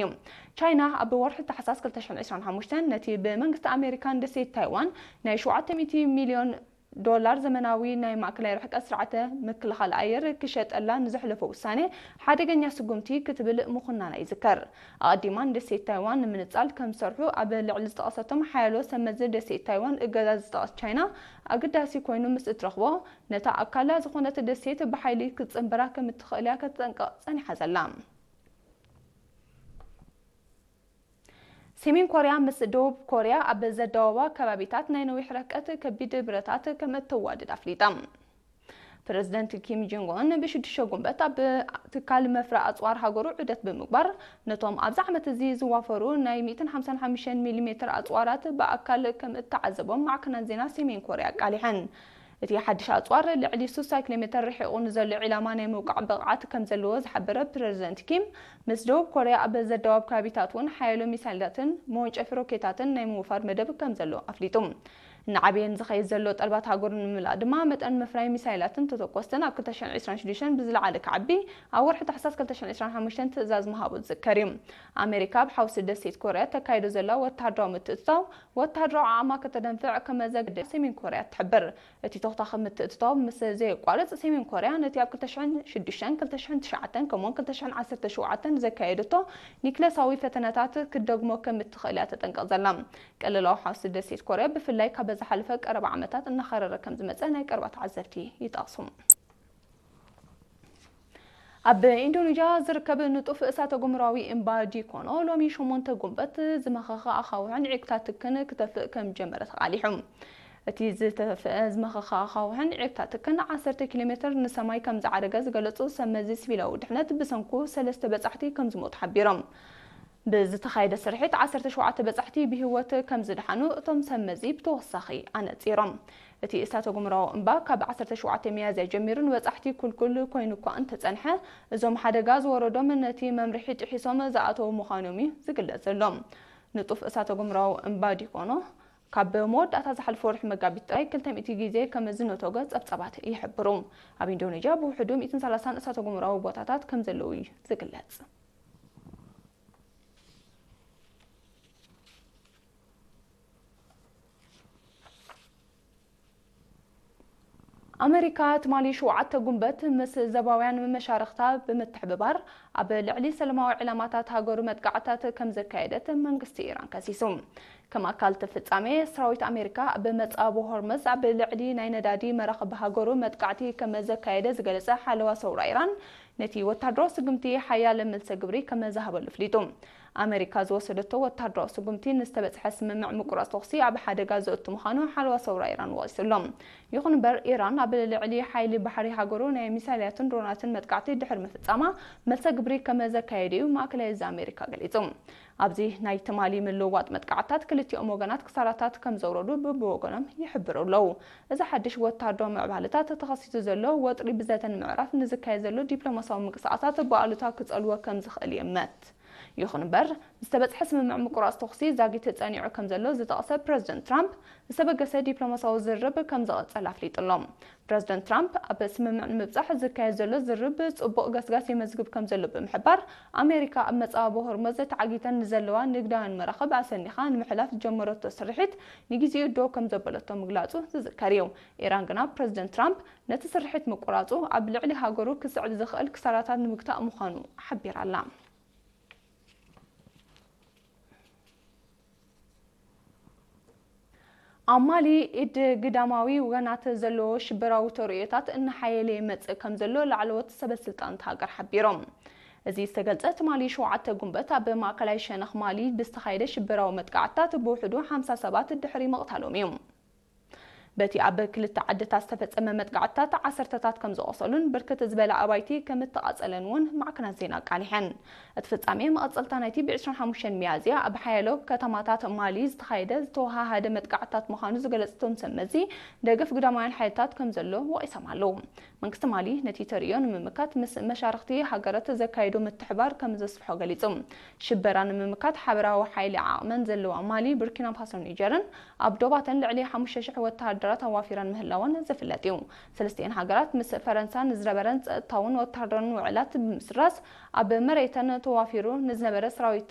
እዩ። ቻይና ኣብ ወርሒ ታሕሳስ ክልተ ሽሕን ዕስራን ሓሙሽተን ነቲ ብመንግስቲ ኣሜሪካን ደሴት ታይዋን ናይ ሸውዓተ ሚእቲ ሚልዮን ዶላር ዘመናዊ ናይ ማእከላይ ርሕቀት ስርዓተ ምክልኻል ኣየር ክሸጠላ ንዘሕለፎ ውሳኔ ሓደገኛ ስጉምቲ ክትብል ምኹናና ይዝከር። ኣቐዲማ ንደሴት ታይዋን ንምንጻል ከም ዝሰርሑ ኣብ ልዕሊ ዝጠቐሰቶም ሓያሎ ሰብ መዚ ደሴት ታይዋን እገዛ ዝጠቐስ ቻይና፣ ኣገዳሲ ኮይኑ ምስ እትረኽቦ፣ ነታ ኣካላ ዝኾነት ደሴት ብሓይሊ ክትጽንብራ ከም እትኽእል እያ ከተጠንቅቕ ጸኒሓ ዘላ። ሰሜን ኮርያ ምስ ደቡብ ኮርያ ኣብ ዘዳወባ ከባቢታት ናይ ነዊሕ ርሕቀት ከቢድ ብረታት ከም እተዋድድ ኣፍሊጣ። ፕረዚደንት ኪም ጆንግ ኡን ብሽዱሽተ ጉንበት ኣብ ትካል መፍረ ኣጽዋር ሃገሩ ዑደት ብምግባር፣ ነቶም ኣብዚ ዓመት እዚ ዝዋፈሩ ናይ ሚእትን ሓምሳን ሓሙሽተን ሚሊ ሜትር ኣጽዋራት ብኣካል ከም እተዓዘቦም ማዕከናት ዜና ሰሜን ኮርያ ኣቃሊሐን። እቲ ሓድሽ ኣጽዋር ልዕሊ ስሳ ኪሎ ሜተር ርሒቑ ንዘሎ ዒላማ ናይ ምውቃዕ ብቕዓት ከም ዘለዎ ዝሓበረ ፕረዚደንት ኪም፣ ምስ ደቡብ ኮርያ ኣብ ዘዳወብ ከባቢታት እውን ሓያሎ ሚሳይላትን መወንጨፊ ሮኬታትን ናይ ምውፋር መደብ ከም ዘሎ ኣፍሊጡ። እናዓበየ ንዝኸይድ ዘሎ ጠልባት ሃገሩ ንምምላእ ድማ፣ መጠን ምፍራይ ሚሳይላትን ተተኮስትን ኣብ ክልተ ሽሕን ዕስራን ሽዱሽተን ብዝለዓለ ክዓቢ፣ ኣብ ወርሒ ታሕሳስ ክልተ ሽሕን ዕስራን ሓሙሽተን ትእዛዝ ምሃቡ ዝዝከር እዩ። ኣሜሪካ ኣብ ሓውሲ ደሴት ኮርያ ተካይዶ ዘላ ወተሃደራዊ ምትእትታው፣ ወተሃደራዊ ዓቕማ ከተደንፍዕ ከም ዘገደ ሰሜን ኮርያ ትሕብር። እቲ ተኹታኺ ምትእትታው ምስ ዘየቋርጽ፣ ሰሜን ኮርያ ነቲ ኣብ ክልተ ሽሕን ሽዱሽተን፣ ክልተ ሽሕን ትሽዓተን ከምኡውን ክልተ ሽሕን ዓሰርተ ሸውዓተን ዘካየደቶ ኒክለሳዊ ፈተነታት ክትደግሞ ከም እትኽእል እያ ተጠንቅቕ ዘላ። ቅልላው ሓውሲ ደሴት ኮርያ ብፍላይ ካብ ዝሓለፈ ቀረባ ዓመታት እናኸረረ ከም ዝመጸ ናይ ቀረባ ተዓዘብቲ ይጠቕሱ። ኣብ ኢንዶኔዥያ ዝርከብ ንጡፍ እሳተ ጎመራዊ እምባ ዲኮኖ ሎሚ ሸሞንተ ጉንበት ዝመኸኸ ኣኻውሕን ዒቅታትክን ክተፍእ ከም ጀመረ ተቓሊሑ። እቲ ዝተፈአ ዝመኸኸ ኣኻውሕን ዒቅታትክን ዓሰርተ ኪሎ ሜትር ንሰማይ ከም ዝዓረገ ዝገለጹ ሰብ መዚ ሲቪላዊ ድሕነት፣ ብሰንኩ ሰለስተ በጻሕቲ ከም ዝሞቱ ሓቢሮም። ብዝተኻየደ ስርሒት ዓሰርተ ሸውዓተ በጻሕቲ ብህይወት ከም ዝደሓኑ እቶም ሰብ መዚ ብተወሳኺ ኣነጺሮም። እቲ እሳተ ጎመራዊ እምባ ካብ ዓሰርተ ሸውዓተ ሚያዝያ ጀሚሩ ንበጻሕቲ ኩልኩል ኮይኑ እኳ እንተጸንሐ፣ እዞም ሓደጋ ዝወረዶም ነቲ መምርሒ ጥሒሶም ዝኣተዉ ምዃኖም እዩ ዝግለጽ ዘሎ። ንጡፍ እሳተ ጎመራዊ እምባ ዲኮኖ ካብ መወዳእታ ዝሓለፈ ወርሒ መጋቢት ጥራይ ክልተ ሚእቲ ግዜ ከም ዝነቶገ ጸብጻባት ይሕብሩ። ኣብ ኢንዶኔዥያ ብውሕዱ ሚእትን ሰላሳን እሳተ ጎመራዊ ቦታታት ከም ዘለዉ እዩ ዝግለጽ። ኣመሪካ ትማሊ ሸውዓተ ጉንበት ምስ ዘባውያን መሻርኽታ ብምትሕብባር ኣብ ልዕሊ ሰላማዊ ዕላማታት ሃገሩ መጥቃዕታት ከም ዘካየደት መንግስቲ ኢራን ከሲሱ። ከም ኣካል እቲ ፍጻሜ፣ ሰራዊት ኣሜሪካ ኣብ መጻብ ሆርመዝ ኣብ ልዕሊ ናይ ነዳዲ መራኽብ ሃገሩ መጥቃዕቲ ከም ዘካየደ ዝገለጸ ሓለዋ ሰውራ ኢራን፣ ነቲ ወታደራዊ ስጉምቲ ሓያለ መልሰ ግብሪ ከም ዝሃበሉ ኣፍሊጡ። ኣመሪካ ዝወሰደቶ ወታደራዊ ስጉምቲ ንዝተበጽሐ ስምምዕ ምቁራጽ ተኹሲ ኣብ ሓደጋ ዘእቱ ምዃኑ ሓለዋ ሰውራ ኢራን ወቒሱ ኣሎ። ይኹን እምበር፣ ኢራን ኣብ ልዕሊ ሓይሊ ባሕሪ ሃገሩ ናይ ሚሳይላትን ድሮናትን መጥቃዕቲ ድሕሪ ምፍጻማ፣ መልሰ ግብሪ ከም ዘካየደ እዩ ማእከላይ እዚ ኣሜሪካ ገሊጹ። ኣብዚ ናይ ትማሊ ምልውዋጥ መጥቃዕትታት ክልቲኦም ወገናት ክሳራታት ከም ዘውረዱ ብብወገኖም ይሕብሩ ኣለዉ። እዚ ሓድሽ ወታደራዊ ምዕባለታት ተኸሲቱ ዘሎ ወጥሪ ብዘተ ንምዕራፍ ንዝካየድ ዘሎ ዲፕሎማሲያዊ ምንቅስቓሳት ብኣሉታ ክጸልዎ ከም ዝኽእል ይእመት። ይኹን እምበር፣ ዝተበጽሐ ስምምዕ ምቁራጽ ተኹሲ ዛጊት ጸኒዑ ከም ዘሎ ዝጠቕሰ ፕረዚደንት ትራምፕ፣ ዝተበገሰ ዲፕሎማሲያዊ ዝርርብ ከም ዝቕጽል ኣፍሊጡ ኣሎ። ፕረዚደንት ትራምፕ፣ ኣብ ስምምዕ ንምብጻሕ ዝካየድ ዘሎ ዝርርብ ጽቡቕ ገስጋስ የመዝግብ ከም ዘሎ ብምሕባር፣ ኣሜሪካ ኣብ መጻወቢ ሆርሙዝ ተዓጊተን ንዘለዋ ንግዳውያን መራኽብ ኣሰኒኻ ንምሕላፍ ዝጀመረቶ ስርሒት ንግዜኡ ደው ከም ዘበለቶ ምግላጹ ዝዝከር እዩ። ኢራን ግና ፕረዚደንት ትራምፕ ነቲ ስርሒት ምቁራጹ ኣብ ልዕሊ ሃገሩ ክስዕብ ዝኽእል ክሳራታት ንምግታእ ምዃኑ ሓቢራ ኣላ። ኣብ ማሊ፣ ኢድ ግዳማዊ ወገናት ዘለዎ ሽበራዊ ተርእዮታት እናሓየለ ይመጽእ ከም ዘሎ ላዕለዎት ሰበ ስልጣን እታ ሃገር ሓቢሮም። እዚ ዝተገልጸ፣ ትማሊ ሸውዓተ ጉንበት ኣብ ማእከላይ ሸነኽ ማሊ ብዝተኻየደ ሽበራዊ መጥቃዕትታት ብውሕዱ ሓምሳ ሰባት ድሕሪ ምቕታሎም እዩ። በቲ ኣብ ክልተ ዓድታት ዝተፈጸመ መጥቃዕትታት ዓሰርተታት ከም ዝቖሰሉን ብርክት ዝበላ ኣባይቲ ከም እተቓጸለን እውን ማዕከናት ዜና ኣቃሊሐን። እቲ ፍጻሜ መቐጸልታ ናይቲ ብ ዕስራን ሓሙሽተን ሚያዝያ ኣብ ሓያሎ ከተማታት ማሊ ዝተኻየደ ዝተወሃሃደ መጥቃዕትታት ምዃኑ ዝገለጹ እቶም ሰብ መዚ፣ ደገፍ ግዳማውያን ሓይልታት ከም ዘሎ ወቒሶም ኣለዉ። መንግስቲ ማሊ ነቲ ተርእዮ ንምምካት ምስ መሻርኽቲ ሃገራት ዘካየዶ ምትሕባር ከም ዘስፍሖ ገሊጹ። ሽበራ ንምምካት ሓበራዊ ሓይሊ ዓቕመን ዘለዋ ማሊ፣ ቡርኪና ፋሶን ኒጀርን ኣብ ዶባተን ልዕሊ ሓሙሽተ ሽሕ ወተሃደራት ኣዋፊረን ምህላወን ዝፍለጥ እዩ። ሰለስቲኤን ሃገራት ምስ ፈረንሳ ንዝነበረን ጸጥታውን ወተሃደራውን ውዕላት ብምስራዝ ኣብ መሬተን ተዋፊሩ ንዝነበረ ሰራዊት